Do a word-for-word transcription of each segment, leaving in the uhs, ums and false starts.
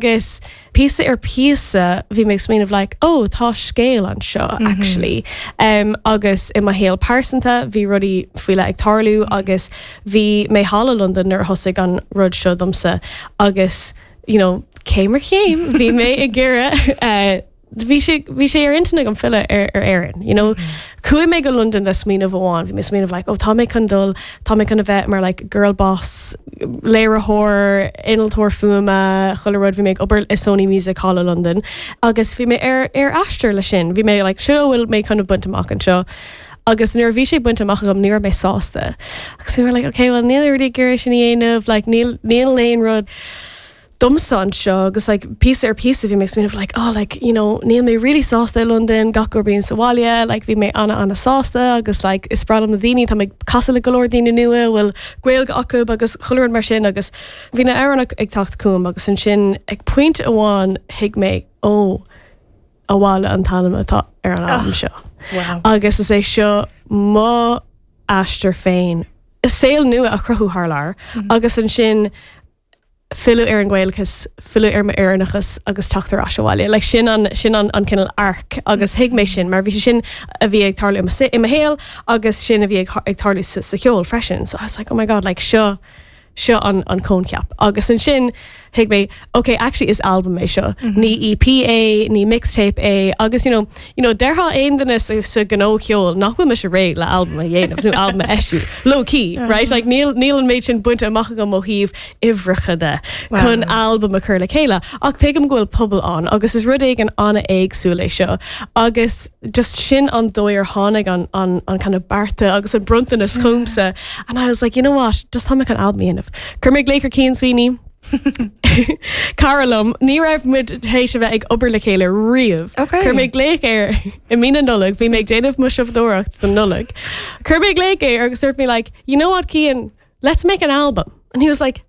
Agus píosa ar píosa bhí mé smaoineamh like, oh, tá scéal anseo mm -hmm. actually. Um, agus i mo shaol pearsanta bhí rudaí faoi leith ag tarlú mm -hmm. agus bhí mé thall i London nuair a thosaigh an rud seo domsa agus you know, céim ar chéim bhí mé ag iarraidh uh, bhí sé bhí sé ar intinn agam filleadh ar ar Éirinn. You know, Chuaigh mé go London le smaoineamh amháin, bhí mé smaoineamh like, oh, tá mé chun dul tá mé chun a bheith mar like, girl boss, léiritheoir, innealtóir fuaime, chuile rud bhí mé ag obair i Sony Music Hall i London. agus bhí mé ar ar aistear le sin, bhí mé like, seo bhfuil mé chun baint amach anseo. Agus nuair a bhí sé bainte amach agam ní raibh mé sásta. Agus bhí mé like, okay, well níl rudaí gur sin dhéanamh, like, níl níl aon rud domsa anseo agus like píosa ar píosa bhí mé smaoineamh like oh like you know níl mé really sásta i London gach uair bím sa bhaile like bhí mé ana ana sásta agus like is breá liom na daoine tá mé casadh le go leor daoine nua bhfuil Gaeilge acu agus chuile rud mar sin agus bhí na hamhráin ag teacht chugam agus ansin ag pointe amháin thuig mé ó Abhaile an t-ainm atá ar an albam seo. Wow. Agus is é seo mo aistear féin. Saol nua a chruthú thar lear mm -hmm. agus ansin filleadh ar an Ghaelachas, filleadh ar m'Éireannachas agus teacht ar ais abhaile. Like sin an sin an, an cineál arc agus thuig mé sin mar bhí sin a bhí ag tarlú i mo shaol agus sin a bhí ag, ag tarlú sa, sa cheol freisin. So I was like, oh my god, like seo seo an, an coincheap. Agus ansin thuig mé, okay, actually is album é seo. Mm -hmm. Ní EP é, ní mixtape é, agus you know, you know, déarfadh aon duine sa, sa ghnó ceoil nach bhfuil mise réidh le album a dhéanamh nó album a eisiú. Low key, uh -huh. right? Like níl níl an méid sin bainte amach agam ó thaobh uimhreacha de wow. chun album a chur le chéile. Ach tuigim go bhfuil pobal ann, agus is rud éigin an-éagsúil é seo. Agus just sin an dóigh ar tháinig an, an, an kind of bearta agus an bronntanas chugamsa. And I was like, you know what, just tá mé chun album a dhéanamh. Chuir mé glaoch ar Cian Sweeney. Cara liom, ní raibh muid théis a bheith ag obair le chéile riamh. Okay. Chuir mé glaoch air i mí na Nollag, bhí mé ag déanamh mo siopadóireacht don Nollag. Chuir mé glaoch air agus dúirt mé like, you know what, Cian, let's make an album. And he was like,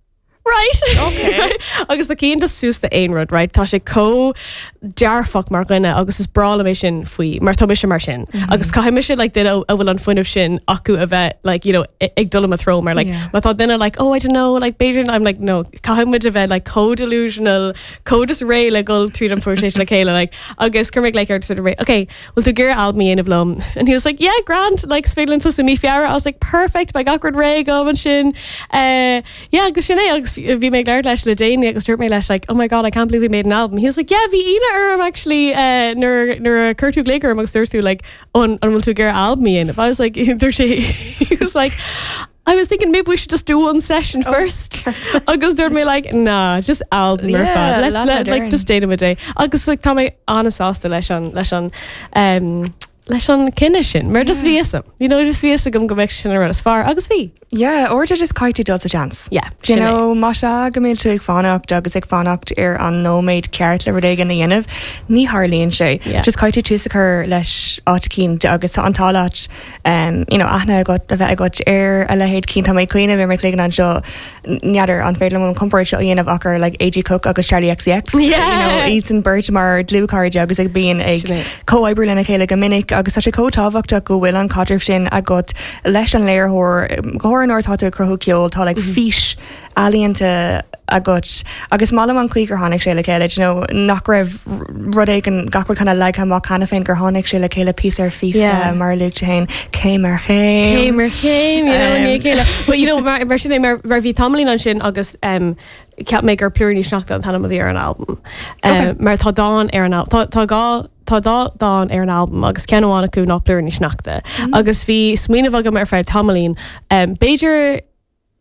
right. Okay. agus tá Cian just suas d'aon rud, right? Tá sé chomh dearfach mar dhuine agus is breá liom é sin faoi mar tá mise mar sin. Mm -hmm. Agus caithfidh mise like, duine a bhfuil an fuinneamh sin acu a bheith like, you know, ag dul i mo threo mar like, Yeah. má tá duine like, oh I don't know, like b'fhéidir I'm like no, caithfidh muid a bheith like chomh delusional, chomh just réidh le dul tríd an phróiseas le chéile like, agus chuir mé like ar sort of okay, bhfuil tú ag iarraidh album a dhéanamh liom? And he was like, yeah, grand, like is féidir linn tosú mí Feabhra. I was like, perfect, beidh gach rud réidh agam ansin. Uh, yeah, agus sin é agus bhí mé ag labhairt leis le déanaí agus dúirt mé leis like, oh my god, I can't believe we made an album. He was like, yeah, bhí ionadh orm actually uh, nuair nuair a chuir tú glaoch orm agus dúirt tú like, an an bhfuil tú ag iarraidh album a dhéanamh. I was like, dúirt sé, he was like, I was thinking maybe we should just do one session oh. first. Agus dúirt mé like, nah, just album ar fad. Let's let like just déanfaimid é. Agus like, tá mé an-sásta leis an leis an um, leis an cinneadh sin, mar just bhí a fhios agam. You know, just bhí a fhios agam go mbeadh sin an rud is fearr agus bhí. Yeah, or just caithfidh tú dul sa seans. Yeah, Do you know, má sea go mbíonn tú ag fanacht agus ag fanacht ar an nóiméad ceart le rud éigin a dhéanamh, ní tharlaíonn sé. Yeah. Just caithfidh tú tús a chur leis áit eicínt agus tá an t-ádh leat um, you know, aithne agat a bheith agat ar a leithéid Cian tá mé ag cuimhneamh ar mo chloigeann anseo n'fheadar an féidir liom an comparáid seo a dhéanamh ach ar like AG Cook agus Charli XCX. Yeah. You know, iadsan beirt mar dlúthchairde agus ag bíonn ag Sin é. comhoibriú lena chéile go minic agus tá sé chomh tábhachtach go bhfuil an caidreamh sin agat leis an léiritheoir go háirithe nuair atá tú ag cruthú ceoil tá like fís ealaíonta agat agus maith liom an chaoi gur tháinig sé le chéile you know, nach raibh rud éigin gach rud kind of leagtha amach cheana féin gur tháinig sé le chéile píosa ar phíosa Yeah. mar a luaigh tú féin céim ar chéim. Céim ar chéim, you know, Um, ní chéile. But you know, mar, mar sin é, mar, mar bhí tamaillín ansin agus um, ceap mé gur Plúiríní Sneachta an t-ainm a bhí ar an album. Okay. Um, mar tá dán ar an album. Tá, tá dhá Tá dá dán ar an album agus ceann amháin acu ná Plúiríní Sneachta. Mm. Agus bhí smaoineamh agam ar feadh tamaillín. Um, b'fhéidir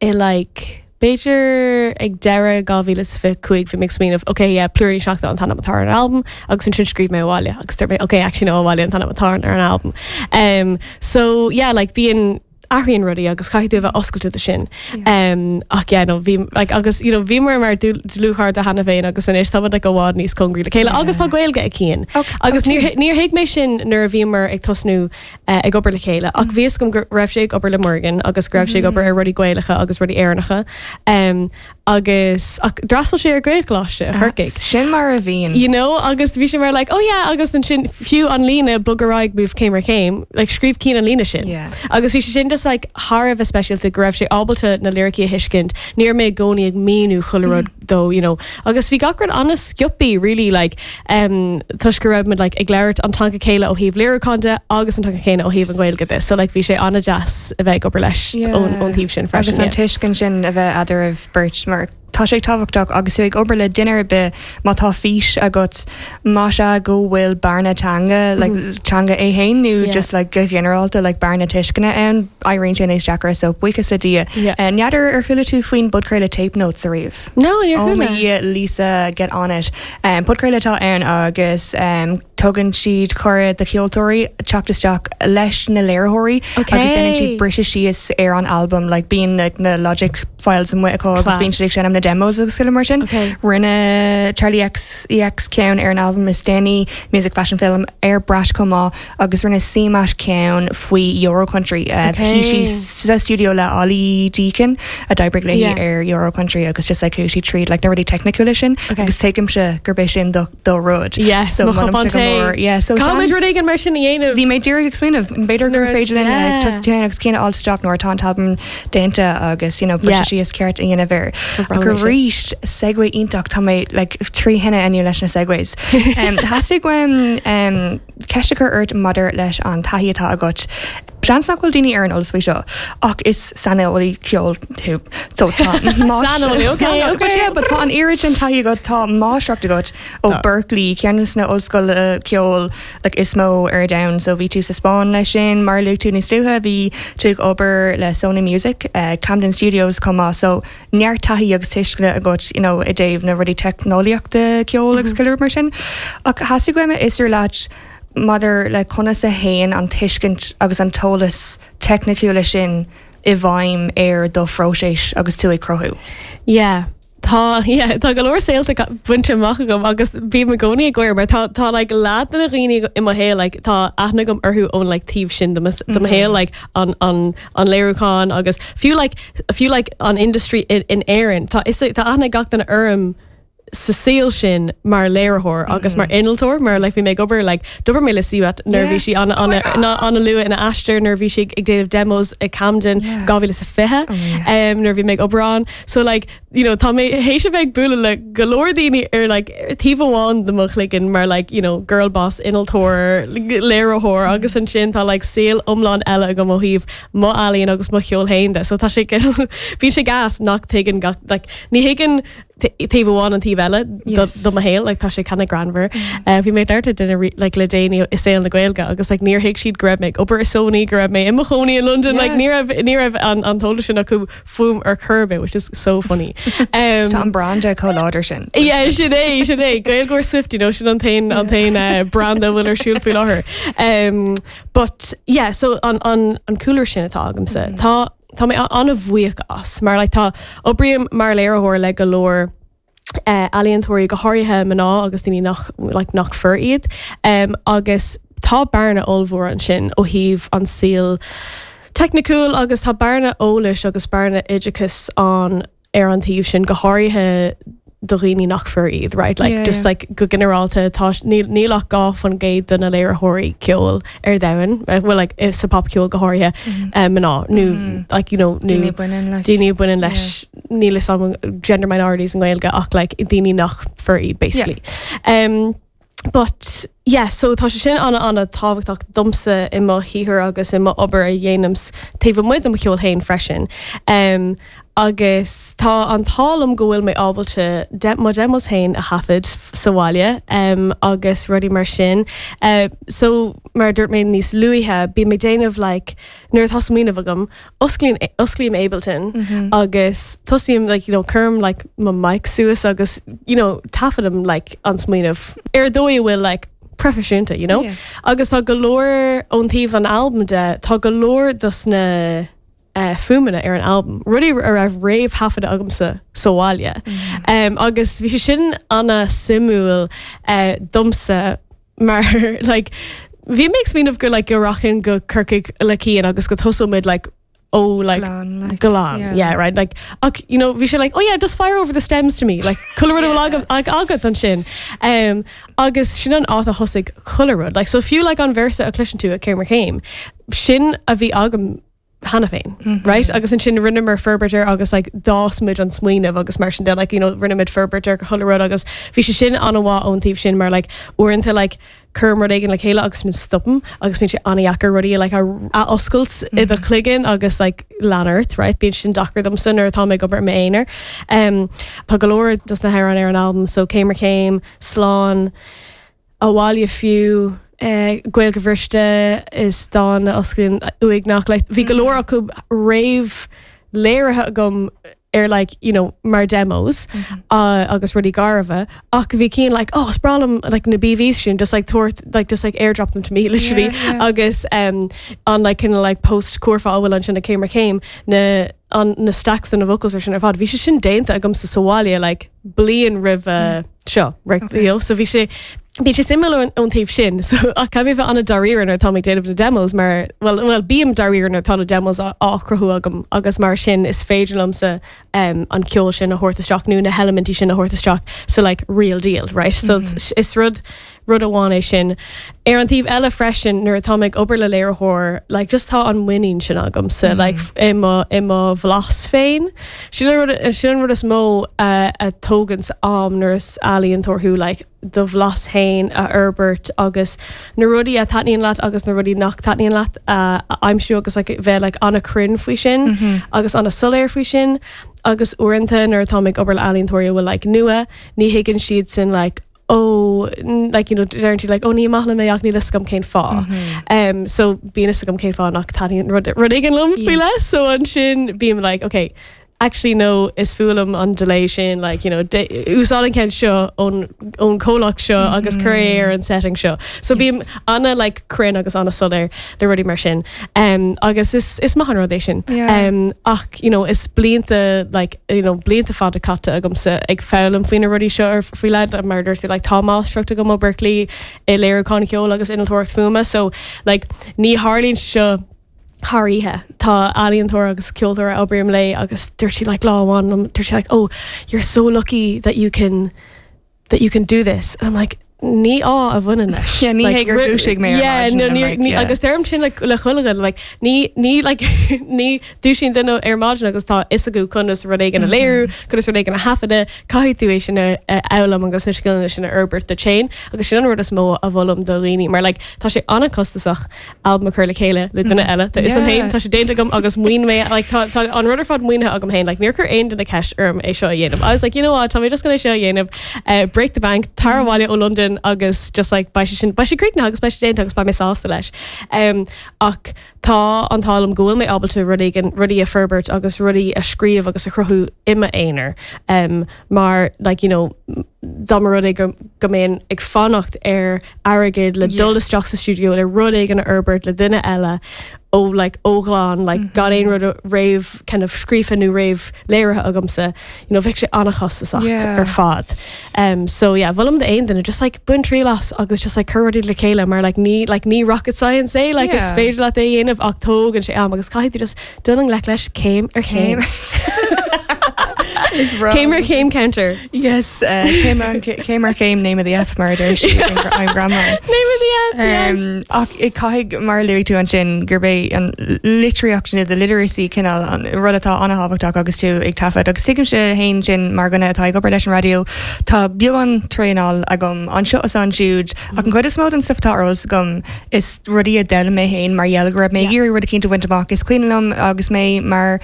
i like b'fhéidir ag deireadh dhá mhíle is fiche cúig bhí mé ag smaoineamh ok yeah Plúiríní Sneachta an t-ainm atá ar an album agus ansin scríobh mé abhaile agus dúirt mé ok actually no abhaile an t-ainm atá ar an album. Um, so yeah like bíonn athraíonn rudaí agus caithfidh tú a bheith oscailte do sin. Um, ach yeah, no, bhí like, agus you know, bhíomar mar dlúthchairde cheana féin agus anois táimid like, i bhfad níos cóngaraí le chéile agus tá Gaeilge ag Cian. Okay, Agus tá níor níor thuig mé sin nuair a bhíomar ag tosnú uh, ag obair le chéile ach bhí a fhios agam go raibh sé ag obair le Morgan agus go raibh sé ag obair ar rudaí Gaelacha agus rudaí Éireannacha. Um, agus ach d'fhreastail sé ar Gaelcholáiste Chorcaigh. Sin mar a bhíonn. You know agus bhí sé mar like oh yeah agus ansin fiú an líne bog ar aghaidh move céim ar chéim like scríobh Cian an líne sin. Yeah. Agus bhí sé sin just like thar a bheith speisialta go raibh sé ábalta na liricí a thuiscint ní raibh mé i gcónaí ag míniú chuile rud dó you know agus bhí gach rud an-sciobtha really like um, toisc go raibh muid like ag labhairt an teanga céanna ó thaobh léiriúcháin de agus an teanga céanna ó thaobh an Ghaeilge de so like bhí sé an-deas a bheith ag obair leis ón ón taobh sin Agus freisin. an yeah. tuiscint sin a bheith eadraibh beirt mar tá sé tábhachtach agus tú ag obair le duine ar bith má tá fís agat má sé go bhfuil bearna teanga like, teanga é féin nó Yeah. just like go ginearálta like bearna tuisceana ann éiríonn sé níos deacra so buíochas le Dia. Yeah. Uh, N'fheadar ar chuala tú faoin bpodchraoladh Tape Notes ariamh. No, níor Oh chuala. my Lisa get on it. Um, podchraoladh atá ann agus um, tugann siad cuireadh do cheoltóirí teacht isteach leis na léiritheoirí Okay. agus déanann siad briseadh síos ar an album like bíonn like, na Logic files amuigh acu agus Class. bíonn siad ag seinm na demos agus chuile mar sin. Okay. Rinne Charli XCX ceann ar an album is déanaí Music Fashion Film ar Brat chomh maith agus rinne CMAT ceann faoi Euro Country. Uh, Okay. Bhí sí sa studio le Ollie Deacon a d'oibrigh léi Yeah. ar Euro Country agus just like chuaigh sí tríd like na rudaí teicniúla sin Okay. agus tuigimse gurb é sin do do rud. Yes, so mo molaimse chupán go tae. mór. Yeah, so Caithfimid seans- rud éigin mar sin a dhéanamh. Bhí mé díreach ag smaoineamh b'fhéidir gur Nuair- féidir linn yeah. yeah. agus Cian a fháil nuair atá an t-album déanta agus you know, Yeah. briseadh síos ceart a dhéanamh air. Go Ach arís segue iontach tá mé like, trí thine inniu leis na segues. Um, Theastaigh uaim um, ceist a chur ort maidir leis an taithí atá agat. Seans nach bhfuil daoine ar an eolas faoi seo ach is saineolaí ceoil thú. So tá Saineolaí, okay, But okay. yeah, but tá an oiread sin taithí agat tá máistreacht agat ó Tá. Berklee ceann de na ollscoileanna ceoil like, is mó ar domhan so bhí tú sa Spáinn leis sin mar luaigh tú níos luaithe bhí tú ag obair le Sony Music uh, Camden Studios chomh maith so neart taithí agus tuisceana agat you know, i dtaobh na rudaí teicneolaíochta ceoil agus mm -hmm. mar sin ach theastaigh uaim a fhiosrú leat maidir le conas a théann an tuiscint agus an t-eolas teicniúla sin i bhfeidhm ar do phróiseas agus tú ag cruthú. Yeah. Tá yeah, tá go leor saolta bainte amach agam agus bím i gcónaí ag gáire mar tá tá like, leath de na daoine i mo shaol like, tá aithne agam orthu ón like, taobh sin de mo de mo shaol like, an, an, an léiriúchán agus fiú like, fiú like, an industry in, in Éirinn tá is tá aithne gach duine orm sa saol sin mar léiritheoir agus mar innealtóir mar like, bhí mé ag obair like, d'oibir mé le CMAT nuair bhí sí an an-luath ina aistear nuair bhí sí ag déanamh demos ag Camden Yeah. dhá mhíle is a fiche Oh, yeah. um, nuair bhí mé ag obair ann so like you know tá mé théis a bheith ag bualadh le go leor daoine ar like taobh amháin de mo chloigeann mar like you know girl boss innealtóir léiritheoir agus ansin tá like saol iomlán eile agam ó thaobh mo ealaíon agus mo cheol féin de so tá sé bhí sé gas nach tuigeann gach like ní thuigeann taobh amháin an taobh eile do Yes. do mo shaol like tá sé kind of greannmhar uh, bhí mé ag labhairt le duine ri- like le déanaí i saol na Gaeilge agus like níor thuig siad go raibh mé ag obair i Sony go raibh mé i mo chónaí in London like Yeah. ní raibh ní raibh an an t-eolas sin acu fúm ar chor ar bith which is so funny um, Tá an branda chomh láidir sin. Yeah, sin é sin é Gaeilgeoir Swift you know, sin an t-aon an t-aon uh, branda bhfuil ar siúl faoi láthair. Um, but yeah, so an, an, an cúlra sin atá agamsa tá tá mé an-bhuíoch as mar like, tá oibrím mar léiritheoir le go leor uh, ealaíontóirí go háirithe mná agus daoine nach like, nach fir iad um, agus tá bearna ollmhór ansin ó thaobh an saol teicniúil agus tá bearna eolais agus bearna oideachais an ar an taobh sin go háirithe do dhaoine nach fir iad, right? Like Yeah, just yeah. like go ginearálta tá níl níl ach dhá faoin gcéad de na léiritheoirí ceoil ar domhan, uh, well like is sa popcheol go háirithe um, mná nó like you know nó Daoine baineann le. daoine baineann leis níl a fhios agam gender minorities in Gaeilge ach like daoine nach fir iad basically. Um, but yeah, so tá sé sin an an-tábhachtach domsa i mo shaothar agus i mo obair a dhéanaim taobh amuigh de mo cheol féin freisin. Um, agus tá an t-ádh liom go bhfuil mé ábalta de mo demos féin a thaifead sa bhaile um, agus rudaí mar sin. Uh, so mar dúirt mé níos luaithe bím ag déanamh like, nuair atá smaoineamh agam osclaím osclaím Ableton mm -hmm. agus tosaím like, you know, cuirim like, mo mic suas agus you know, taifeadaim like, an smaoineamh ar dóigh a bhfuil like, proifisiúnta, you know? Yeah. Agus tá go leor ón taobh an album de tá go leor dos na uh, fuaimeanna ar an album. Rudaí a raibh réamhthaifeadta agamsa sa bhaile. Mm. Um, agus bhí sé sin an-suimiúil uh, domsa mar like, bhí mé ag smaoineamh go like, go rachainn go Corcaigh le Cian agus go dtosóimid like, ó like Glan, like, glan yeah. yeah right like ach, you know bhí sé like oh yeah just fire over the stems to me like chuile rud yeah. ag agat ansin um, agus sin an áit a thosaigh chuile rud like so fiú like an véarsa a chloiseann tú i Céim ar Chéim sin a bhí agam cheana féin mm -hmm. right agus ansin rinneamar forbairt air agus like d'fhás muid an smaoineamh agus mar sin de like you know rinne muid forbairt ar chuile rud agus bhí sé sin an-mhaith ón taobh sin mar like uaireanta like cuirim rud éigin le chéile agus sin stopaim agus bíonn sé an-deacair rudaí like a, a oscailt mm -hmm. i do chloigeann agus like leanúint right bíonn sin deacair domsa nuair atá mé ag obair m'aonar um, Tá go leor dos na hamhráin ar an album so Céim ar Chéim slán abhaile fiú eh, Gaeilge bhriste is dán a osclaíonn uaigneach like, bhí go leor acu réamh léirithe agam ar like you know mar demos mm -hmm. uh, agus rudaí garbha ach bhí cín like oh is breá liom like na BVs sin just like tabhair like just like airdrop them to me literally Yeah, yeah. agus um, an like kind of like post curfá bhfuil ansin i Céim ar Chéim na an na stacks na vocals ar sin ar fad bhí sé sin déanta agamsa sa bhaile like bliain roimh uh, seo right Okay. you know, so bhí sé Bhí sé suimiúil ón taobh sin, so ach caithfidh mé bheith an-dáiríre nuair atá ag déanamh na demos mar well, well bím dáiríre nuair atá na demos á á chruthú agam agus mar sin is féidir liomsa um, an ceol sin a thabhairt isteach nó na heilimintí sin a thabhairt isteach so like real deal, right? So mm -hmm. is rud rud amháin é sin. Ar an taobh eile freisin nuair atá ag obair le léiritheoir, like just tá an muinín sin agam sa mm. like i mo i mo bhlas féin. Sin an rud sin an rud is mó uh, a tógann am nuair is ealaíontóir thú like do bhlas féin a fhorbairt agus na rudaí a thaitníonn leat agus na rudaí nach dtaitníonn leat uh, a aimsiú agus like, bheith like, an-chruinn faoi sin mm -hmm. agus an-soiléir faoi sin agus uaireanta nuair atá ag obair le ealaíontóirí a bhfuil like, nua ní thuigeann siad sin like, oh like you know deireann like oh ní maith liom é ach níl a fhios agam cén fáth mm -hmm. um, so bíonn a fhios agam cén fáth nach dtaitníonn rud rud éigin liom faoi Yes. le so ansin bím like okay actually no is fuath liom an delay sin like you know úsáid an ceann seo ón ón comhlacht seo mm -hmm. agus cuir é ar an setting seo so bím Yes. ana like cruinn agus an-soiléir le rudaí mar sin um, agus is is maith an rud é sin Yeah. um, ach you know is blianta like you know blianta fada caite agamsa ag foghlaim faoi na rudaí seo ar faoi le mar dúirt like tá máistreacht agam ó Berklee i léiriúchán ceoil agus innealtóireacht fuaime so like ní tharlaíonn seo thar oíche tá ealaíontóir agus ceoltóir a oibrím le agus dúirt sí like lá amháin um, dúirt sí like oh you're so lucky that you can that you can do this and I'm like ní ádh a bhaineann leis Yeah, ní Like, hé gur ru- dhúisigh mé ar yeah, maidin no, and ní, like, ní, yeah. agus deirim sin le le chuile dhuine like ní ní like ní dúisíonn duine ar maidin agus tá fhios acu conas rud éigin a léiriú conas rud éigin a thaifeadadh caithfidh tú é sin a a fhoghlaim agus na scileanna sin a fhorbairt duit féin agus sin an rud is mó a mholaim do dhaoine mar like tá sé an-chostasach album a chur le chéile le duine eile Tá is an Yeah. féin tá sé déanta agam agus maoin mé like tá tá an rud ar fad maoinithe agam féin like níor chuir aon duine ceist orm é seo a dhéanamh I was like you know what tá mé just gonna seo a dhéanamh uh, break the bank tar abhaile ó London agus just like beidh sé sin beidh sé críochnaithe agus beidh sé déanta agus beidh mé sásta leis um, ach tá an t-ádh liom go bhfuil mé ábalta rudaí gan rudaí a fhorbairt agus rudaí a scríobh agus a chruthú i m'aonar um, mar like you know dá mba rud é go go mbeinn ag fanacht ar airgead le Yeah. dul isteach sa studio le rud éigin a fhorbairt le duine eile ó like ó ghlan like mm -hmm. gan aon rud réamh kind of scríofa nó réamh léirithe agamsa you know bheadh sé an-chostasach Yeah. ar fad um, so yeah mholaim d'aon duine just like bain triail as agus just like cuir rudaí le chéile mar like ní like ní rocket science é like is Yeah. féidir leat é a dhéanamh ach tógann sé am agus caithfidh tú just dul i ngleic leis céim ar chéim Is Céim ar chéim counter Yes, uh, céim an- céim ar chéim name of the app mar deir sí I'm grandma. Name of the app yes. Um, ach i caithfidh mar luaigh tú ansin gurb é an litríocht sin the literacy cineál an rud atá an-tábhachtach agus tú ag taifead agus tuigimse féin sin mar dhuine atá ag obair leis an raidió Tá beagán traenáil agam anseo is ansiúd ach an chuid is mó den stuff atá ar eolas agam is rudaí a d'fhoghlaim mé féin mar gheall go raibh mé Yeah. ag iarraidh rud éicint a bhaint amach is cuimhin liom agus mé mar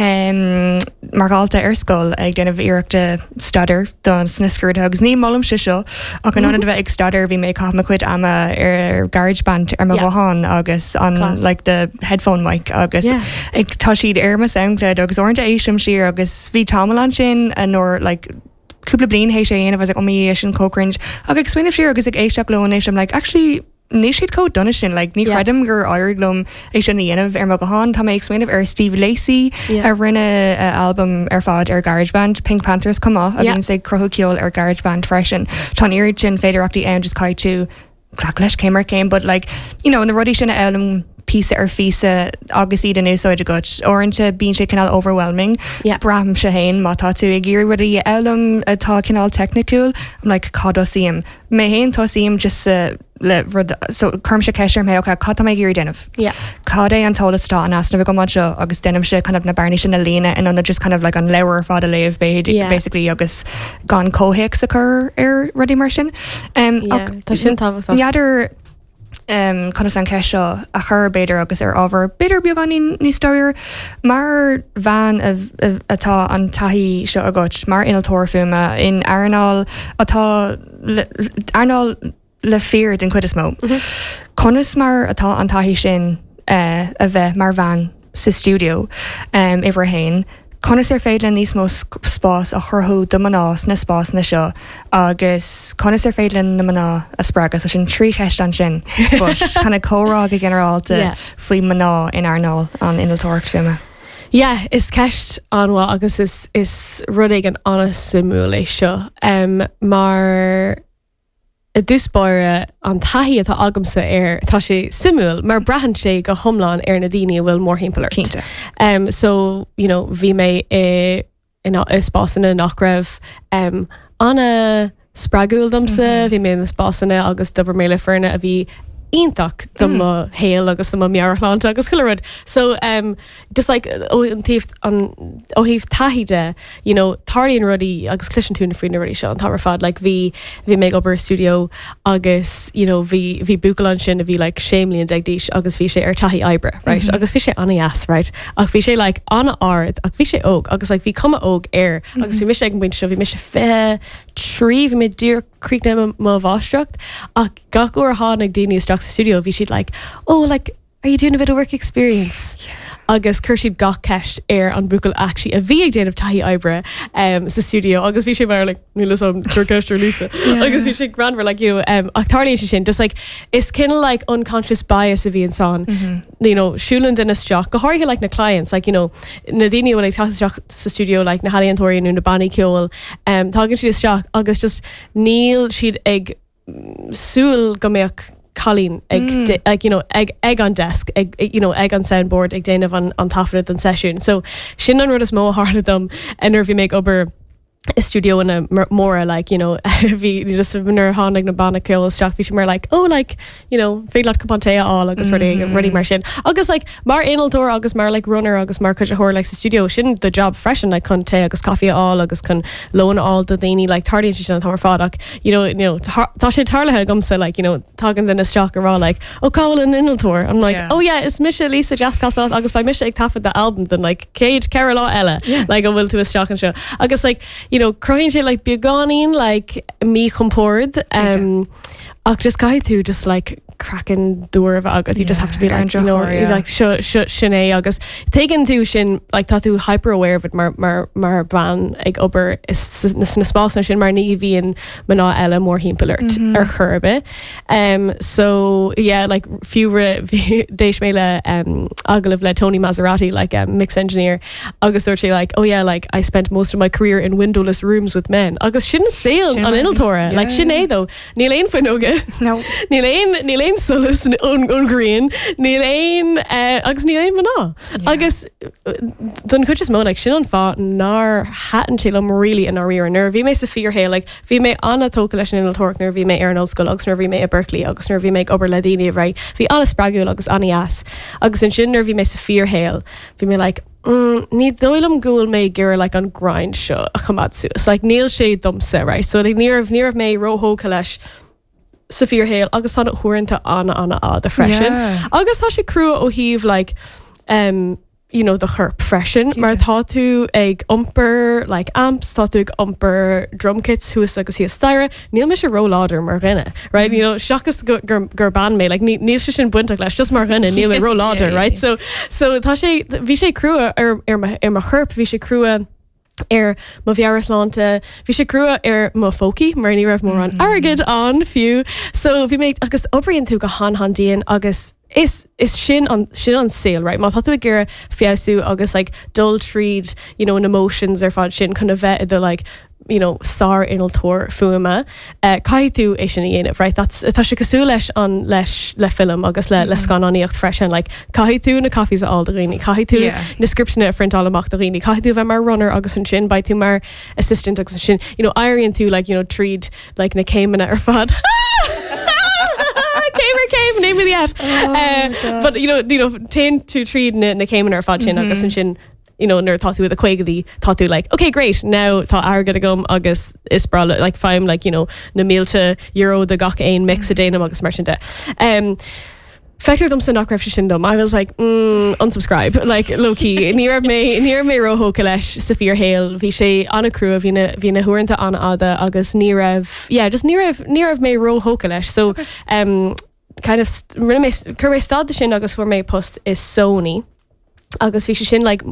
um, mar dhalta ar scoil ag déanamh iarrachta staidéar don sna scrúduithe agus ní molaimse seo ach in ionad a bheith ag staidéar bhí mé ag caitheamh mo chuid ama ar GarageBand ar mo Yeah. ghuthán agus an Class. like the headphone mic agus Yeah. ag tá siad ar mo SoundCloud agus uaireanta éistim siar agus bhí tamall ansin nuair like cúpla bliain théis é a was like, oh my sin chomh cringe ach ag smaoineamh siar agus ag éisteacht leo anois I'm like actually níl siad chomh dona sin like ní Yeah. chreidim gur éirigh liom é sin a dhéanamh ar mo ghuthán tá mé ag smaoineamh ar Steve Lacey Yeah. a rinne a album ar fad ar GarageBand Pink Panthers chomh maith a Yeah. bhíonn ag cruthú ceol ar GarageBand freisin Tá oiread sin féidearthachtaí ann just caithfidh tú glacadh leis céim ar chéim but like you know na rudaí sin a fhoghlaim píosa ar phíosa agus iad in úsáid agat. Uaireanta bíonn sé cineál overwhelming. Yeah. Braithimse féin má tá tú ag iarraidh rudaí a fhoghlaim atá cineál teicniúil, I'm like cad tosaím. Mé féin tosaím just uh, le rud so cuirimse ceist orm féin okay, cad tá mé ag iarraidh déanamh. Yeah. Cad é an t-eolas atá in easnamh agam anseo agus déanaimse kind of na bearnaí sin a líonadh in ionad just kind of like an leabhar ar fad a léamh Yeah. basically agus gan comhthéacs a chur ar rudaí mar sin. Um, Yeah, ach tá sin tábhachtach. N'fheadar um, conas an ceist seo a chur b'fhéidir agus ar ábhar b'fhéidir beagáinín níos dáiríre mar bhean a- a- atá an taithí seo agat mar innealtóir fuaime in earnáil atá le- earnáil le fir den chuid is mó. Conas mar atá an taithí sin uh, a bheith mar bhean sa studio um, uimhir a haon, Conas ar féidir níos mó sc- spás a chruthú do mná sna spásanna seo agus conas ar féidir na mná a spreagadh sin trí cheist ansin kind of comhrá go ginearálta Yeah. faoi mná in earnáil an innealtóireacht fuaime. Yeah, is ceist an-mhaith agus is is rud éigin an-suimiúil é seo um, mar i dtús báire an taithí atá agamsa air tá sé suimiúil mar braitheann sé go hiomlán ar na daoine a bhfuil mórthimpeall ort. Cinnte. Um, so you know, bhí mé i in i spásanna nach raibh um, an-spreagúil domsa, bhí mé in spásanna agus d'oibir mé le foirne a bhí iontach do mo shaol agus do mo mheabhairshláinte agus chuile rud. So um, just like ó an taobh an ó thaobh taithí de, you know, tarlaíonn rudaí agus cloiseann tú na faoi na rudaí seo an t-am ar fad like bhí bhí mé ag obair i studio agus you know, bhí bhí buachaill ansin a bhí like sé bliana déag d'aois agus bhí sé ar taithí oibre, right? Mm -hmm. Agus bhí sé an-deas, right? Ach bhí sé like an-ard ach bhí sé óg agus like bhí cuma óg air agus bhí mise ag an bpointe seo bhí mise fiche trí bhí mé díreach críochnaithe mo mháistreacht ach gach uair a tháinig daoine isteach sa studio bhí siad like oh like are you doing a bit of work experience? Yeah. Agus chuir siad gach ceist ar an buachaill actually a bhí ag déanamh taithí oibre um, sa studio agus bhí sé mar like níl am ceist ar Lisa agus bhí sé greannmhar like you know, um, ach tarlaíonn sé sin just like is cineál like unconscious bias a bhí ansan mm -hmm. you know siúlann duine isteach go háirithe like na clients like you know na daoine bhfuil ag teacht isteach sa studio like na healaíontóirí nó na bannaí ceoil um, tagann siad isteach agus just níl siad ag súil go mbeadh cailín ag mm. ag you know ag ag an desk ag you know ag an soundboard ag déanamh an an taifead den sesiún so sin an rud is mó a tharla dom nuair bhí mé ag obair i studio ina móra like you know bhí just nuair a tháinig na banna ceoil isteach bhí mar like oh like you know féidir leat cupán tae a fháil agus rudaí mm -hmm. rudaí mar sin agus like mar innealtóir agus mar like runner agus mar cuiditheoir like sa studio sin the job freisin like chun tae agus caife a fháil agus chun lón a fháil do daoine like tarlaíonn sé sin an t-am ar fad ach you know you know tá sé tarlaithe agamsa like you know tagann duine isteach ag rá like oh cá bhfuil an innealtóir I'm like yeah. oh yeah is mise Lisa Jazz Castellote agus beidh mise ag taifead the album den like céad ceithre lá eile yeah. like an bhfuil tú isteach anseo agus like you know cruthaíonn sé like beagáinín like míchompord um ach just caithfidh tú just like craiceann dúr a bheith agat you just have to be like you know yeah. like seo seo sin é agus tuigeann tú sin like tá tú hyper aware of it mar mar mar bean ag obair na sna spásanna sin mar ní bhíonn mná eile mórthimpeall ort mm -hmm. ar chor ar bith um so yeah like fiú d'éist mé le um agallamh le Tony Maserati like um, mix engineer agus dúirt sé like oh yeah like I spent most of my career in windowless rooms with men agus sin saol an innealtóra like sin é though níl aon fuinneoga no níl aon níl aon solas ón ón ghrian níl aon uh, agus níl aon mná agus don chuid is mó like sin an fáth nár thaitin sé liom really in dáiríre nuair bhí mé sa fíorshaol like bhí mé an-tógtha leis an innealtóireacht nuair bhí mé ar an ollscoil agus nuair bhí mé i Berkeley agus nuair bhí mé ag obair le daoine right bhí an-spreagúil agus an-deas agus ansin nuair bhí mé sa fíorshaol bhí mé like mm, ní dóigh liom go bhfuil mé ag iarraidh like an grind seo a choimeád suas like níl sé domsa right so like ní raibh ní raibh mé róthógtha leis sa fíorshaol agus tá uaireanta an-an-fhada freisin Yeah. agus tá sé crua ó thaobh like um you know the chorp freisin mar tá tú ag iompar like amps tá tú ag iompar drum kits thuas agus thíos staighre níl mise róláidir mar dhuine right you know seachas gur gur gur bean mé like ní níl sé sin bainteach leis just mar dhuine níl mé róláidir Yeah, right so so tá sé bhí sé crua ar ar mo ar mo chorp bhí sé crua ar mo mheabhairshláinte bhí sé crua ar mo phócaí mar ní raibh mórán airgead ann fiú so bhí mé agus oibríonn tú go han han-dian agus is is sin an sin an saol right má tá tú ag iarraidh feabhsú agus like dul tríd you know na motions ar fad sin chun a bheith i do like you know sár-innealtóir fuaime uh, caithfidh tú é sin a dhéanamh right that's tá sé cosúil leis an leis le film agus le mm -hmm. le scannánaíocht freisin like caithfidh tú na coffees a fháil do dhaoine caithfidh tú Yeah. na scripteanna a phrintáil amach do dhaoine caithfidh tú bheith mar runner agus ansin beidh tú mar assistant agus ansin you know éiríonn tú like you know tríd like na céimeanna ar fad Céim ar céim name of the F Oh uh, but you know you know téann tú tríd na, na céimeanna ar fad sin mm -hmm. agus ansin you know nuair tá tú i do chaogaidí tá tú like okay great now tá airgead agam agus is breá like faighim like you know na mílte euro de gach aon mix a dhéanaim agus mar sin de. Um, Feictear domsa nach raibh sé sin dom. I was like mm, unsubscribe like low key ní raibh mé ní raibh mé róthógtha leis sa fíorshaol bhí sé an-chrua bhí na bhí na huaireanta an-fhada agus ní raibh yeah just ní raibh ní raibh mé róthógtha leis so okay. um, kind of rinne mé chuir mé stad de sin agus fuair mé post i Sony. agus bhí sé sin like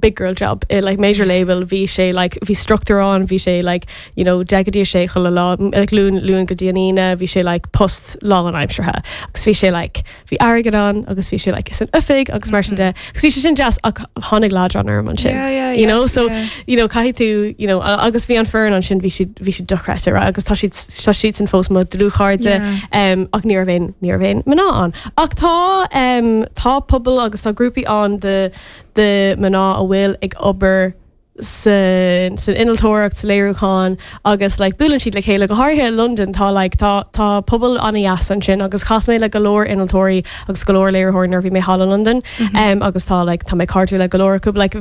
big girl job i like major label bhí sé like bhí structure ann bhí sé like you know deich go dtí a sé chuile lá like Luan Luan go dtí an Aoine bhí sé like post lánaimseartha agus bhí sé like bhí airgead ann agus bhí sé like is an oifig agus mar sin de agus bhí sé sin deas ach tháinig leadrán orm ansin Yeah, yeah, you yeah, know so yeah. you know caithfidh tú you know agus bhí an foireann ansin bhí siad bhí siad dochreidte right? agus tá siad tá siad sin fós mo dlúthchairde Yeah. um, ach ní raibh aon ní raibh aon mná ann. Ach tá um, tá pobal agus tá grúpaí ann de de mná a bhfuil ag obair sa san innealtóireacht sa léiriúchán agus like buaileann siad le chéile go háirithe i London tá like tá tá pobal an-deas ansin agus chas mé le go leor innealtóirí agus go leor léiritheoirí nuair bhí mé thall i London mm -hmm. um, agus tá like tá mé cairdiúil le go leor acu like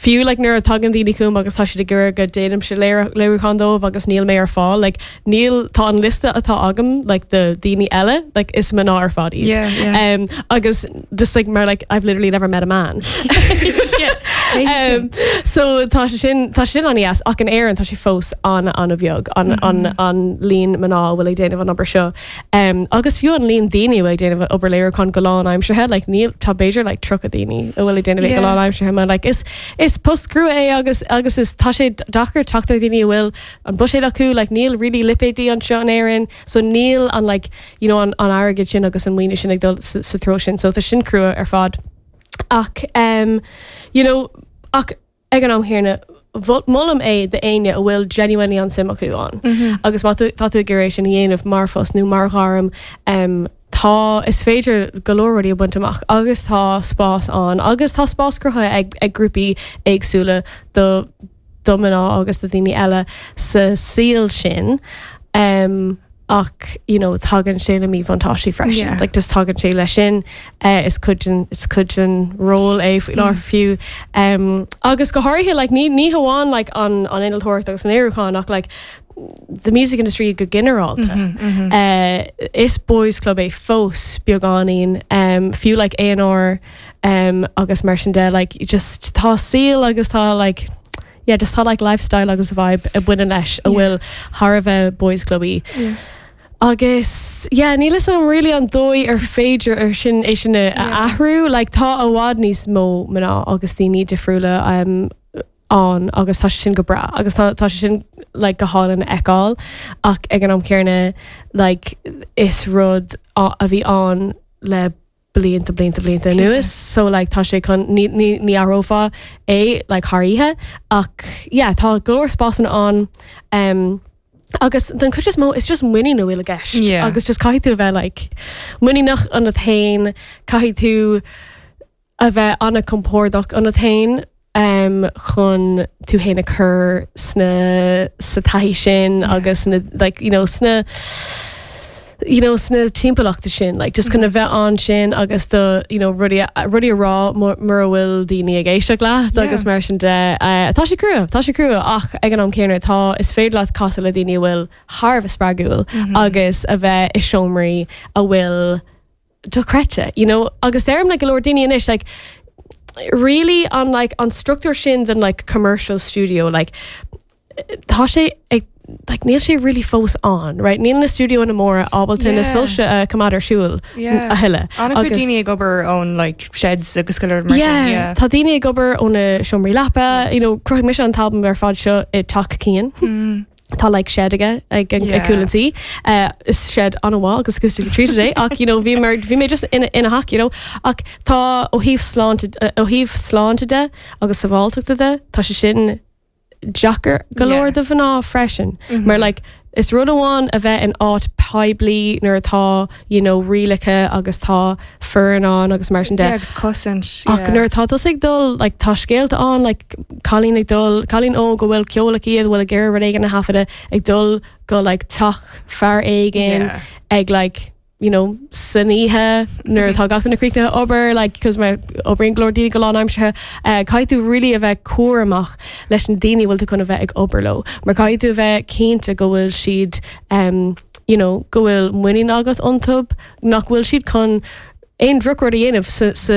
fiú like nuair a tagann daoine chugam agus tá siad ag iarraidh go ndéanaimse léiriúchán dóibh agus níl mé ar fáil like níl tá an liosta atá agam like de daoine eile like is mná ar fad iad Yeah, yeah. um, agus just like mar like I've literally never met a man um, so tá sé sin tá sé sin an-deas ach in Éirinn tá sé fós an an-bheag an, mm -hmm. an, an líon mná bhfuil ag déanamh an obair seo um, agus fiú an líon daoine bhfuil ag déanamh obair léiriúchán go lánaimseartha like níl tá b'fhéidir like tríocha daoine a bhfuil ag déanamh yeah. go lánaimseartha mar like is is post crua é agus agus is tá sé deacair teacht ar daoine a bhfuil an buiséad acu like níl really lipéidí anseo in Éirinn so níl an like you know an, an airgead sin agus an maoiniú sin ag dul sa, sa treo sin so tá sin crua ar fad ach um, you know ach ag an am céanna molaim é d'éinne a bhfuil genuinely an suim acu ann. Mm -hmm. Agus má tá tú ag iarraidh sin a dhéanamh mar phost nó mar ghairm um, tá is féidir go leor rudaí a bhaint amach agus tá spás ann agus tá spás cruthaithe ag, ag grúpaí éagsúla do do mná agus do daoine eile sa saol sin. Um, ach you know tagann sé le míbhuntáistí freisin Yeah. like just tagann sé leis sin uh, is cuid den is cuid den ról é faoi láthair fiú um, agus go háirithe like ní ní hamháin like an an innealtóireacht agus an léiriúchán ach like the music industry go ginearálta mm -hmm, mm -hmm. uh, is boys club é fós beagáinín um, fiú like A&R um, agus mar sin de like just tá saol agus tá like yeah just tá like lifestyle agus vibe a bhaineann leis a bhfuil thar a bheith boys clubby. Yeah. Agus yeah, níl a fhios agam really an dóigh ar féidir ar sin é sin a Yeah. athrú, like tá i bhfad níos mó mná agus daoine difriúla um, ann agus tá sé sin go breá agus tá tá sé sin like go hálainn a fheiceáil ach ag an am céanna like is rud a a bhí ann le blianta blianta blianta anuas so like tá sé chun ní ní ní athrófá é like thar oíche ach yeah tá go leor spásanna ann um, agus den chuid is mó is just muinín a bhfuil i gceist Yeah. agus just caithfidh tú a bheith like muiníneach ionat féin caithfidh tú a bheith an-chompordach ionat féin um, chun tú féin a chur sna sa taithí sin Yeah. agus na like you know sna you know sna timpeallachta sin like just chun a bheith ansin agus do you know rudaí a- rudaí a rá mura bhfuil daoine ag éisteacht leat Yeah. agus mar sin de uh, tá sé crua tá sé crua ach ag an am céanna tá is féidir leat casadh le daoine a bhfuil thar a bheith spreagúil Mhm. agus a bheith i seomraí a bhfuil dochreidte you know agus deirim le go leor daoine anois like really an like an structure sin den like commercial studio like tá sé ag like níl sé really fós ann right níl na stiúideonna móra ábalta na Yeah. soilse uh, coimeád ar siúl Yeah. a thuilleadh An-chuid Agus- daoine ag obair ón like sheds agus go leor mar sin, Yeah, yeah. tá daoine ag obair óna seomraí leapa, you know, chruthaigh mise an t-albam ar fad seo i teach Cian. Mm. Tá like shed aige ag ag Yeah. cúl an tí. Uh, is shed an-mhaith agus acoustic treated é ach you know, bhí mar bhí mé just ina ina theach, you know, ach tá ó thaobh sláinte uh, ó thaobh sláinte de agus sábháilteachta de tá sé sin deacair go leor Yeah. do mhná freisin mar like is rud amháin a bheith in áit poiblí nuair atá you know rialacha agus tá foireann ann agus mar sin de Yeah, agus cosaint. Ach yeah. nuair atá tusa ag dul like, tá scéalta ann like, cailín ag dul cailín óg go bhfuil ceol aici bhfuil ag iarraidh rud éigin a thaifeadadh ag dul go like, teach fear éigin Yeah. ag like you know san oíche nuair atá gach duine críochnaithe obair like cos mar oibríonn go leor daoine go lánaimseartha uh, caithfidh tú really a bheith cúramach leis na daoine bhfuil tú chun a bheith ag obair leo mar caithfidh tú a bheith cinnte go bhfuil siad um, you know go bhfuil muinín agat iontu nach bhfuil siad chun aon drochrud a dhéanamh sa, sa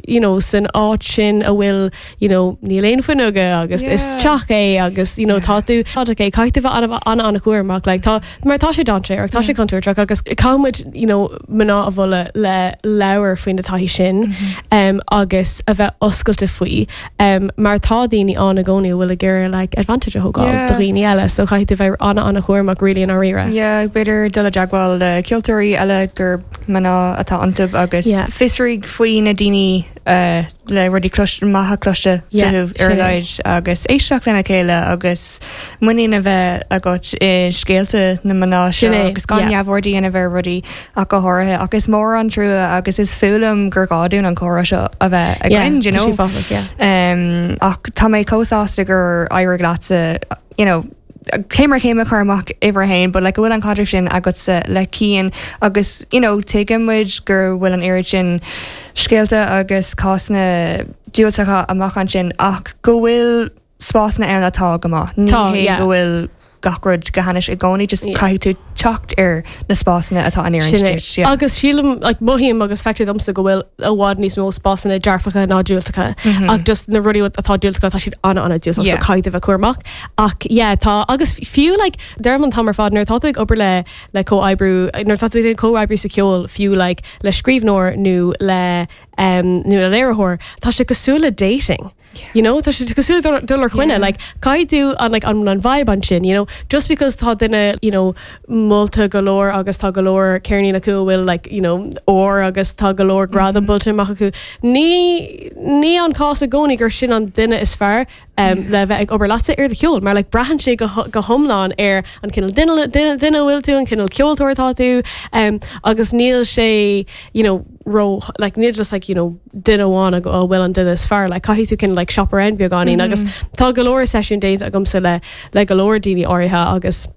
you know san áit sin a bhfuil you know níl aon fuinneoga agus is Yeah. teach é agus you know Yeah. tá tú tá é caithfidh tú bheith an an an-chúramach like tá mar tá sé dainséarach tá sé contúirteach agus caithfimid you know mná a mholadh le labhairt faoin taithí sin um, agus a bheith oscailte faoi um, mar tá daoine ann i gcónaí a bhfuil ag iarraidh like advantage a thógáil Yeah. do dhaoine eile so caithfidh tú bheith an an-chúramach really in dáiríre. Yeah, b'fhéidir dul i dteagmháil le ceoltóirí eile gur mná atá iontu agus Yeah. fiosraigh faoi na daoine uh, le rudaí maithe cloiste Yeah, fúthu ar sin é. leid agus éisteacht lena chéile agus muinín a bheith agat i scéalta na mná seo Sin é, agus gan yeah. neamhaird a dhéanamh ar rudaí ach go háirithe agus mór an trua agus is fuath liom gur gá dúinn an comhrá seo a bheith againn, you tá know? sé fáthach, yeah. Um, ach tá mé chomh sásta gur éirigh leatsa you know, céim ar chéim a chur amach uimhir a haon, but like go bhfuil an caidreamh sin agatsa le Cian agus you know, tuigeann muid gur bhfuil an oiread sin scéalta agus cásanna diúltacha amach ansin ach go bhfuil spásanna ann atá go maith. Ní Tá, hé yeah. go bhfuil gach rud go hainnis i gcónaí, just Yeah. caithfidh tú teacht ar na spásanna atá an Sin é. duit. Yeah. Agus sílim like, mothaím agus feictear domsa go bhfuil i bhfad níos mó spásanna dearfacha ná diúltacha ach just na rudaí atá diúltacha tá siad an an diúltach Yeah. so caithfidh bheith cúramach ach yeah, tá agus fiú like deirim an t-am ar fad nuair atá tú ag obair le le comhoibriú nuair atá tú ag comhoibriú sa ceol fiú like le scríbhneoir nó le um, nó le léiritheoir tá sé cosúil le dating. You know, tá sé cosúil le dul ar choinne Yeah. like caithfidh tú an like an an vibe ansin you know just because tá duine you know molta go leor agus tá go leor ceirnín acu a bhfuil like you know ór agus tá go leor gradam buaite amach acu ní ní an cás i gcónaí gur sin an duine is fearr um, le bheith ag obair leatsa ar do cheol mar like braitheann sé go go hiomlán ar an cineál duine duine duine bhfuil tú an cineál ceoltóir atá tú um, agus níl sé you know ró like níl just like you know duine amháin a a bhfuil an duine is fearr like caithfidh tú cineál like shop around beagáinín agus tá go leor seisiún déanta agamsa le le go leor daoine áirithe agus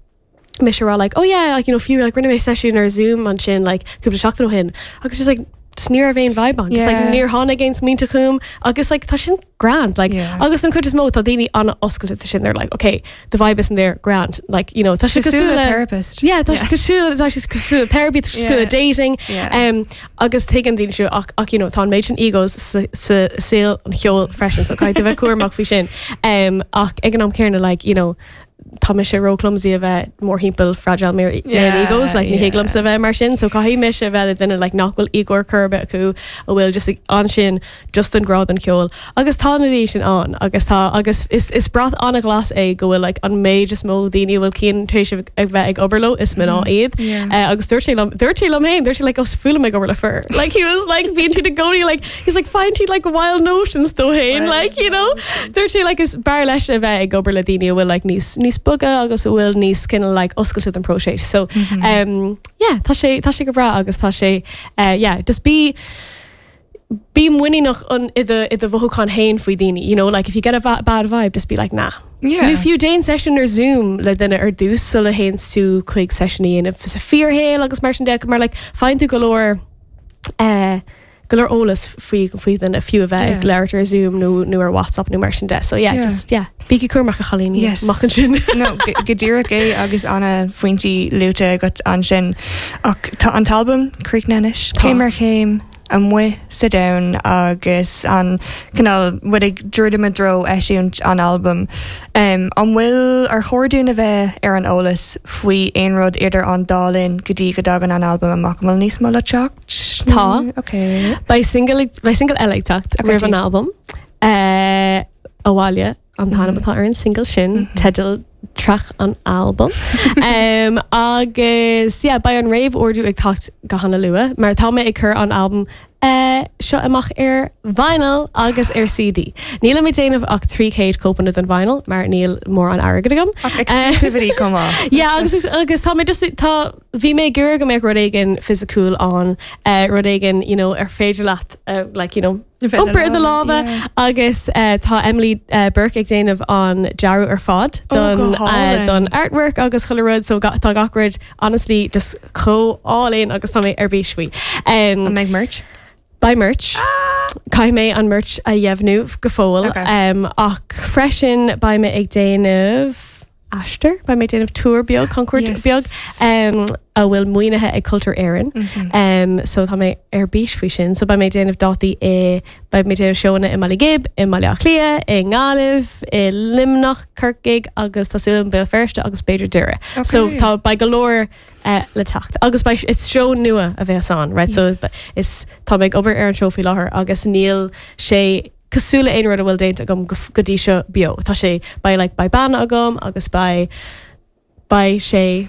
mise rá like oh yeah like you know fiú like rinne mé seisiún ar Zoom ansin like cúpla seachtain ó shin agus just like just ní raibh aon vibe ann just like Yeah. níor tháinig aon smaointe chugam agus like tá sin grand like Yeah. agus an chuid is mó tá daoine an-oscailte sin they're like okay the vibe isn't there grand like you know tá sé Cosúil cosúil le le therapist. Yeah, tá sé cosúil tá sé cosúil le therapy tá sé cosúil le Yeah. dating Yeah. um, agus tuigeann daoine seo ach ach you know tá an méid sin egos sa sa saol an cheoil freisin so caithfidh bheith cúramach faoi sin um, ach ag an am céanna like you know tá mise ró clumsy a bheith mórthimpeall fragile male Yeah, egos like ní yeah. thig liomsa bheith mar sin so caithfidh mise bheith le duine like nach bhfuil ego ar chor ar bith acu a bhfuil just ansin just an grá don cheol agus tá na daoine sin ann agus tá agus is is brat an-ghlas é go bhfuil like an méid is mó daoine a bhfuil Cian tar éis ag bheith ag obair leo is mná iad Yeah. Uh, agus dúirt sé liom dúirt sé liom féin dúirt sé like oh, fuath liom ag obair le fir like he was like bíonn siad i gcónaí like he's like find siad like wild notions dó féin Wild like you know dúirt sé like is b'fhearr leis a bheith ag obair le daoine a bhfuil like níos níos boga agus a bhfuil níos cineál like oscailte den próiseas so um yeah tá sé tá sé go breá agus tá sé uh, yeah just bí bí muiníneach an i do i do mhothúchán féin faoi daoine you know like if you get a va bad vibe just be like nah Yeah. Nó fiú déan session ar Zoom le duine ar dtús sula théann tú chuig session a dhéanamh sa fíorshaol agus mar sin de mar like faigheann tú go leor uh, go leor eolas faoi faoi duine fiú a bheith ag Yeah. labhairt ar Zoom nó nó ar WhatsApp nó mar sin de so yeah, Yeah. just yeah bígí cúramach a chailíní Yes. amach ansin no go go díreach é agus an-phointí luaite agat ansin ach tá an t-albam críochnaithe anois Tá. céim ar chéim amuigh sa domhan agus an cineál muid ag druidim i dtreo eisiúint an albam. Um, an bhfuil ar chóir dúinn a bheith ar an eolas faoi aon rud idir an dá linn go dtí go dtagann an albam amach an bhfuil níos mó le teacht? Tá. Okay. Beidh single beidh single eile ag teacht Okay, roimh an albam uh, Abhaile an t-ainm atá ar an single sin teideal track an album um, agus agus yeah, beidh an réamhordú ag teacht go han-luath, mar tá mé ag cur an album uh, seo amach ar vinyl agus ar CD. Níl mé déanamh ach trí chéad cóipeanna den vinyl mar níl mórán airgead agam. Ach exclusivity come on. Yeah, agus agus tá mé just tá bhí mé gur go mbeadh rud éigin fisiciúil an uh, rud éigin you know, ar féidir leat uh, like, you know, iompar i do lámha agus uh, tá Emily uh, Burke ag déanamh an dearadh ar fad Oh, don, go uh, hálainn. don artwork agus chuile rud so ga, tá gach rud honestly just chomh hálainn agus tá mé ar bís faoi. Um, An mbeidh merch? Beidh merch. Caithfidh mé an merch a dheimhniú go fóill Okay. um, ach freisin beidh mé ag déanamh aistear, beidh mé déanamh tour beag concert Yes. beag um, a bhfuil maoinithe ag Cultúr Éireann. Mhm. Um, so tá mé ar bís faoi sin, so beidh mé déanamh dátaí i beidh mé déanamh seónna i mBaile Ghib, i mBaile Átha Cliath, i nGaillimh, i Luimneach Corcaigh agus tá súil Béal Feirste agus b'fhéidir Doire. So Okay. tá beidh go leor uh, le teacht. Agus beidh is seó nua a bheas ann, right? Yes. So is tá mé ag obair ar an seó faoi láthair agus níl sé cosúil le aon rud a bhfuil déanta agam go go dtí seo beo. Tá sé beidh like, beidh banna agam agus beidh beidh sé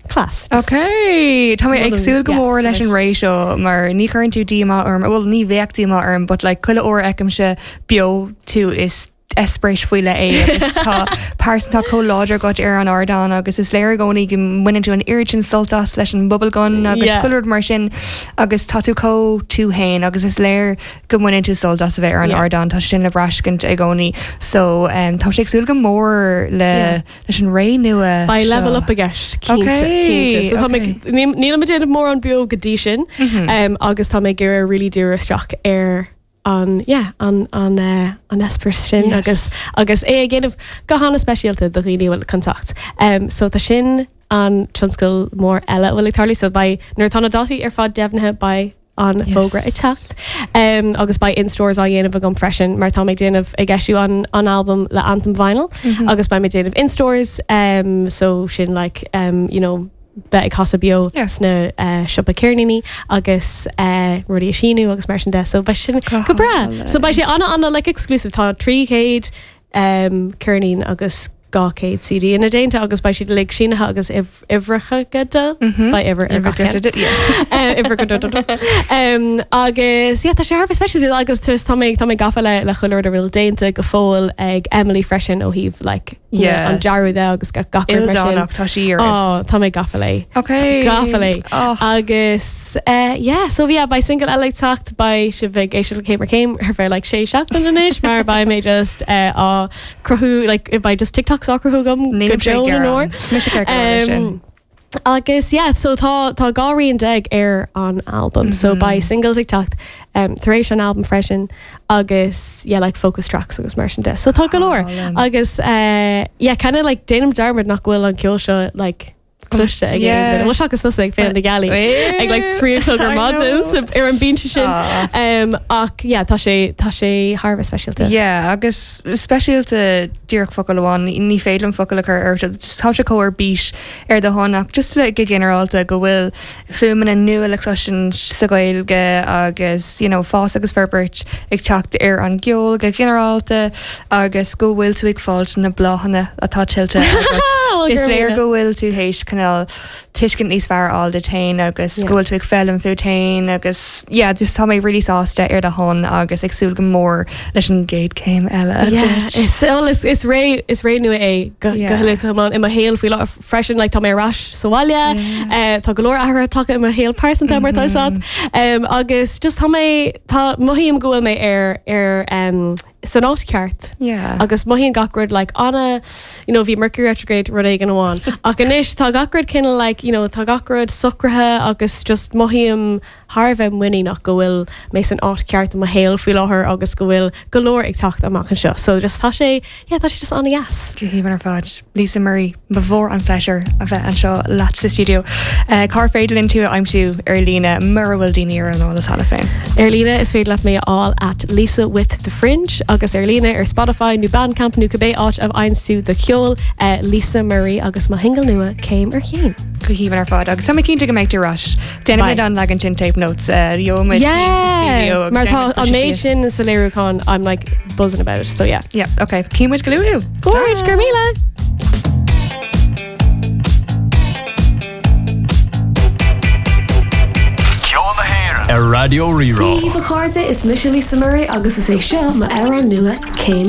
class. Just- Okay, Tá mé ag súil go Yeah, mór leis an so ré seo mar ní chuireann tú díomá orm, well ní bheadh díomá orm, but like chuile uair a fheicimse beo tú is eispéireas faoi leith é agus tá pearsantacht chomh láidir agat ar an ardán agus is léir i gcónaí go mbaineann tú an oiread sin sult as leis an bubblegum agus Yeah. chuile rud mar sin agus tá tú chomh tú féin agus is léir go mbaineann tú sult as a bheith ar an Yeah. ardán tá sin le braithscint i gcónaí so um, tá sé ag súil go mór le Yeah. leis an ré nua Beidh seo. level up i gceist cinnte Okay, cinnte. So tá okay. mé- níl níl mé déanamh mórán beo go dtí sin Mhm. um, agus tá mé ag iarraidh really díriú isteach ar an yeah, an an uh, an eispéireas sin Yes. agus agus é ag déanamh go han-speisialta do dhaoine bhfuil contact. Um, so tá sin an tionscal mór eile a bhfuil ag tarlú so beidh nuair tá na dátaí ar fad deimhnithe beidh an Yes. fógra ag teacht. Um, agus beidh in-stores á dhéanamh agam freisin mar tá mé déanamh ag eisiú an, an album le Anthem Vinyl Mm -hmm. agus beidh mé déanamh in-stores um, so sin like um, you know beidh ag casadh beo Yeah. sna uh, siopa ceirníní agus uh, rudaí a síniú agus mar sin de so beidh sin Go go breá hálainn. so beidh sé ana ana like exclusive tá trí chéad um, ceirnín agus dhá chéad CD ina déanta agus beidh siad uilig sínithe agus uimhreacha de Mhm. beidh uimhir ar gach ceann. Yes. Uh, uimhir go do- do- do. Um, agus yeah, tá sé thar special agus tá tá mé tá mé gafa le le chuile rud a bhfuil déanta go fóill ag Emily freisin ó thaobh like Yeah. an dearadh de agus gach gach rud mar sin. Ildánach tá sí ar Oh, tá mé gafa léi. Okay. Gafa léi. Oh, Agus uh, yeah, so yeah, beidh single eile ag teacht beidh sibh ag éisteacht le céim ar chéim ar feadh like sé seachtain anois mar beidh mé just uh, á cruthú like beidh just TikToks á cruthú agam go deo na n-ór. Um, agus yeah, so tá tá dhá rian déag ar an album, mm -hmm. so Mhm. beidh singles ag teacht um, tar éis an album freisin agus yeah, like focus tracks agus mar sin de. So tá go leor. Agus uh, yeah, kind of like déanaim dearmad nach bhfuil an ceol seo like cloiste ag Yeah. yeah. seachas tusa ag Féile na Gealaí ag like trí a chlog ar I maidin know. so ar an bhinse sin. Ah. Um, ach yeah, tá sé tá sé thar a bheith speisialta. Yeah, agus speisialta díreach focal amháin ní féidir liom focal a chur ar tá sé chomh ar bís ar do shon ach just le go ginearálta go bhfuil fuaimeanna nua le cloisint sa Ghaeilge agus you know, fás agus forbairt ag teacht ar an gceol go ginearálta agus go bhfuil tú ag fáilt na bláthanna atá tuillte agat. Well, Is gur léir míle. go bhfuil tú théis cineál tuiscint níos fearr a fháil duit féin agus Yeah. go bhfuil tú ag foghlaim fút féin agus yeah, just tá mé really sásta ar do shon agus ag súil go mór leis an gcéad céim eile. Yeah, is well, is is ré is ré nua é go Yeah. go huile i mo shaol faoi láthair freisin like tá mé ar ais sa bhaile Yeah. uh, tá go leor athruithe tagtha i mo shaol pearsanta mar tá Mhm. um, agus just tá mé tá mothaím go bhfuil mé ar ar um, san áit ceart. Yeah. Agus mothaíonn gach rud like ana you know, bhí Mercury retrograde rud éigin amháin. Ach anois tá gach rud cineál like, you know, tá gach rud socraithe agus just mothaím thar a bheith muiníneach go bhfuil mé san áit ceart i mo shaol faoi láthair agus go bhfuil go leor ag teacht amach anseo. So just tá sé yeah, tá sé just an-dheas. Go haoibhinn ar fad. Lisa Murray ba mhór an phléisiúr a bheith anseo leat sa studio. Uh, Cár féidir linn tú a aimsiú ar líne mura bhfuil daoine ar an eolas cheana féin. Ar líne is féidir leat mé a fháil at Lisa with the Fringe agus ar líne ar Spotify nó Bandcamp nó cibé áit a bhfaigheann tú do cheol uh, Lisa Murray agus mo shingil nua céim ar chéim. Go haoibhinn ar fad agus tá mé cinnte go mbeidh tú ar ais. Déanaimid Bye. an leagan sin tape notes uh, gheobhaimid Yeah! Mar tá an méid sin sa léiriúchán I'm like buzzing about it so yeah. Yeah, okay. Címid go luath. Gorge, go raibh míle! Ceol na hÉireann ar Raidió Rí-Rá. Dia daoibh a chairde is mise Lisa Murray agus is é seo m'amhrán nua céim